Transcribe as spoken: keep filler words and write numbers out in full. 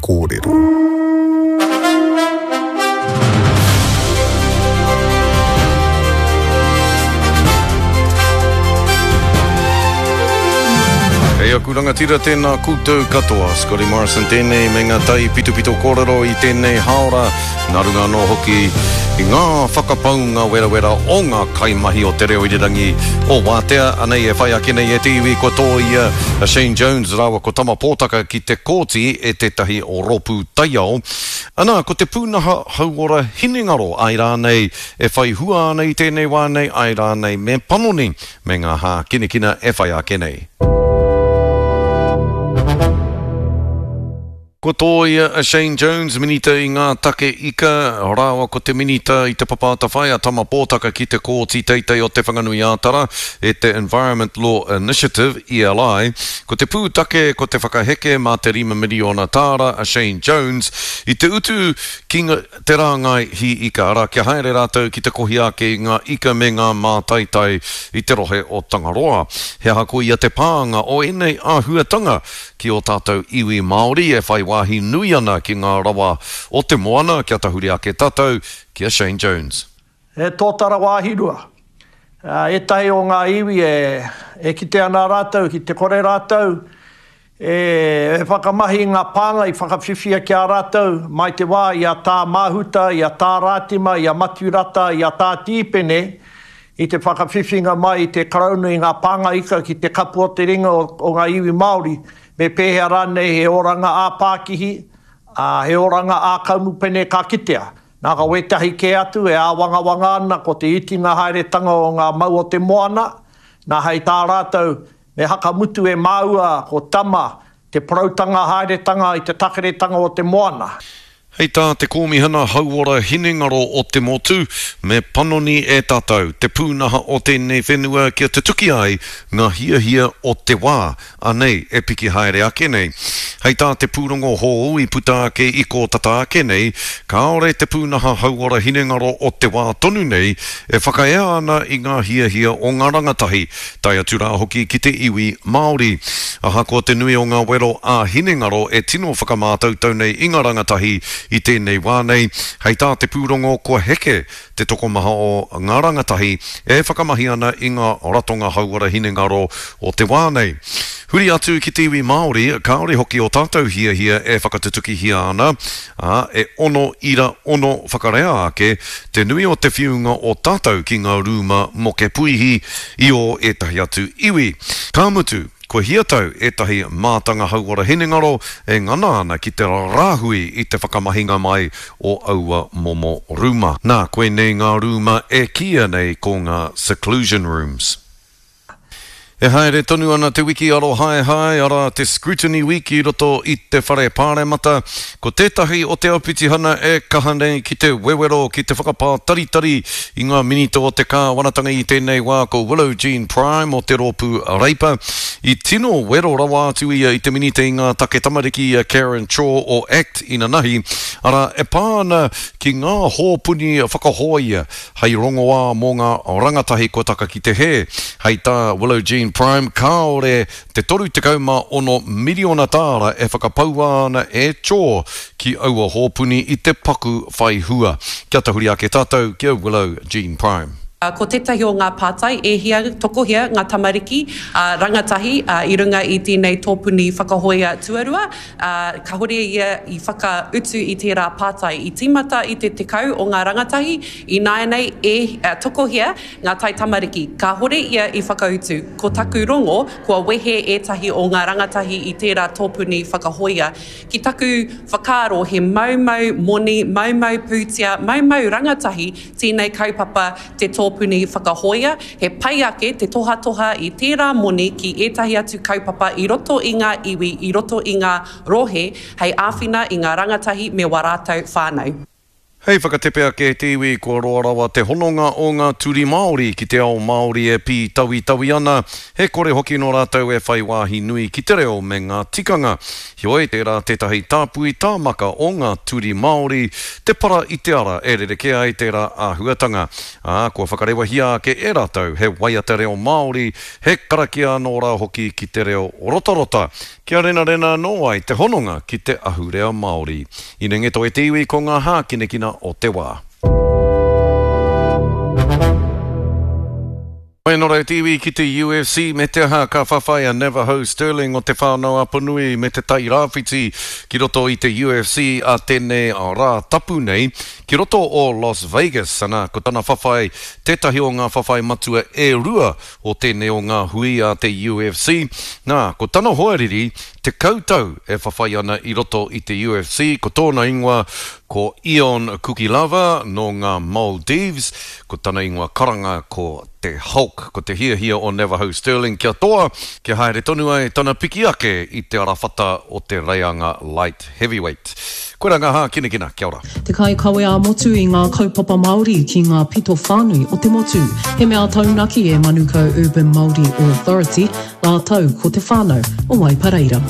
kōrero. Hei aku rangatira tēnā koutou katoa. Scotty Morrison tēnei me ngā tai pitopito kōrero i tēnei haora. Nā runga anō hoki i ngā whakapaunga werawera o ngā kaimahi o te reo irirangi o Wātea. Anei e whai ake nei e te iwi kua tōia a Shane Jones rāua ko Tama Pōtaka ki te kōti e tētahi o rōpū taiao. Ana, ko te pūnaha hauora hinengaro ai rānei e whai hua ana i tēnei wā nei, ai rānei me panoni me ngā hākinakina e whai ake nei. Ko tōia a Shane Jones, minita i ngā take ika, rāua ko te minita i te Papa Atawhai a Tama Pōtaka ki te kōti teitei o Te Whanganui-ā-Tara e te Environment Law Initiative, E L I. Ko te pūtake, ko te whakaheke mā te rima miriona tāra a Shane Jones i te utu ki te rāngai hi ika, arā kia haere rātou ki te kohi ake i ngā ika me ngā mātaitai i te rohe o Tangaroa. He aha ko ia te pānga o ēnei āhuatanga ki o tātou iwi Māori e whai wāhi nui ana ki ngā rawa o te moana, kia tahuri ake tātou ki a Shane Jones. E tōtara wāhi rua. Ētahi o ngā iwi e, e kite ana rātou, ki te kore rātou, e, e whakamahi ngā pānga i whakawhiwhia ki a rātou, mai te wā i a tā Mahuta, i a tā Rātima, i a Maturata, i a tā Tīpene, i te whakawhiwhinga mai i te Karauna i ngā pānga ika ki te kapu o te ringa o, o ngā iwi Māori, me pēhea rānei he oranga ā-pākihi, ā, he oranga ā-kaumupene ka kitea. Nā ka wētahi kē atu e āwangawanga ana ko te itinga haeretanga o ngā mau o te moana, nā hei tā rātou me hakamutu e māua ko Tama te porautanga haeretanga i te takeretanga o te moana. Hei tā te kōmihana hauora hinengaro o te motu, me panoni e tātou te pūnaha o tēnei whenua kia tutuki ai ngā hiahia o te wā, anei e piki haere ake nei. Hei tā te pūrongo hou i puta ake i kōtata ake nei, kāore te pūnaha hauora hinengaro o te wā tonu nei e whakaea ana i ngā hiahia o ngā rangatahi, tae atu rā hoki ki te iwi Māori. Ahakoa te nui o ngā wero a hinengaro e tino whakamātautau nei i ngā rangatahi i tēnei wā nei, hei tā te pūrongo kua heke te tokomaha o ngā rangatahi e whakamahi ana i ngā ratonga hauora hinengaro o te wā nei. Huri atu ki te iwi Māori, kāore hoki o tātou hiahia e whakatutukihia ana, ā, e ono ira ono whakarea ake te nui o te whiunga o tātou ki ngā rūma moke puihi i o ētahi atu iwi. Ka mutu, kua hiatau ētahi mātanga hauora hinengaro e ngana ana ki te rāhui i te whakamahinga mai o aua momo rūma. Nā, koinei ngā rūma e kīia nei ko ngā seclusion rooms. E haere tonu ana te wiki arohaehae, arā te Scrutiny Week i roto i te whare pāremata. Ko tētahi o te aupitihana e kaha nei ki te wewero, ki te whakapātaritari i ngā minita o te kāwanatanga i tēnei wā ko Willow Jean Prime o te rōpū Reipa. I tino wero rawa atu ia i te minita i ngā take tamariki a Karen Chor o ACT inanahi, arā e pā ana ki ngā hōpuni whakahoia hei rongoā mō ngā rangatahi kua taka ki te hē. Hei tā Willow Jean Prime, kāore te toru tekau mā ono miriona tāra e whakapaua ana e Chor ki aua hōpuni i te paku whai hua. Kia tahuri ake tātou ki a Willow Jean Prime. Ko tētahi o ngā pātai e hia tokohia ngā tamariki uh, rangatahi uh, i runga i tēnei tōpuni whakahoia tuarua. Uh, kahore ia i whakautu i tērā pātai. I tīmata i te tekau o ngā rangatahi, i nāianei e uh, tokohia ngā tai tamariki. Kahore ia i whakautu. Ko taku rongo, kua wehe ētahi o ngā rangatahi i tērā tōpuni whakahoia. Ki taku whakaaro he maumau moni, maumau pūtea, maumau rangatahi tēnei kaupapa te tōpuni whakahoia, he pai ake te tohatoha i tērā moni ki ētahi atu kaupapa i roto i ngā iwi, i roto i ngā rohe, hei āwhina i ngā rangatahi me wā rātou whānau. Hei whakatepe ake e te iwi, kua roa rawa te hononga o ngā turi Māori ki te ao Māori e pītawitawi ana, he kore hoki nō rātou e whai wāhi nui ki te reo me ngā tikanga. Heoi, tērā tētahi tāpui tāmaka o ngā turi Māori te para i te ara e rerekē ai tērā āhuatanga, ā, kua whakarewahia ake e rātou he waiata reo Māori, he karakia anō rā hoki ki te reo rotarota, kia renarena anō ai te hononga ki te ahurea Māori. Inengeto e te iwi ko ngā hākinakina o te wā. Nō reira te iwi ki te U F C me te aha ka whawhai a Navajo Stirling o Te Whānau-a-Apanui me Te Tai Rāwhiti ki roto i te U F C a tēnei rā tapu nei ki roto o Las Vegas. Ana, ko tana whawhai tētahi o ngā whawhai matua e rua o tēnei o ngā hui a te U F C. Nā, ko tana hoariri tekau tau e whawhai ana i roto i te U F C, ko tōna ingoa ko Ion Kukilava nō ngā Maldives, ko tana ingoa karanga ko te Hulk, ko te hiahia o Navajo Stirling kia toa, kia haere tonu ai tana piki ake i te arawhata o te reianga light heavyweight. Koira ngā hākinakina, kia ora. Te kaikawe ā-motu i ngā kaupapa Māori ki ngā pito whānui o te motu. He mea taunaki e Manukau Urban Māori Authority, rātou ko te whānau o Waipareira.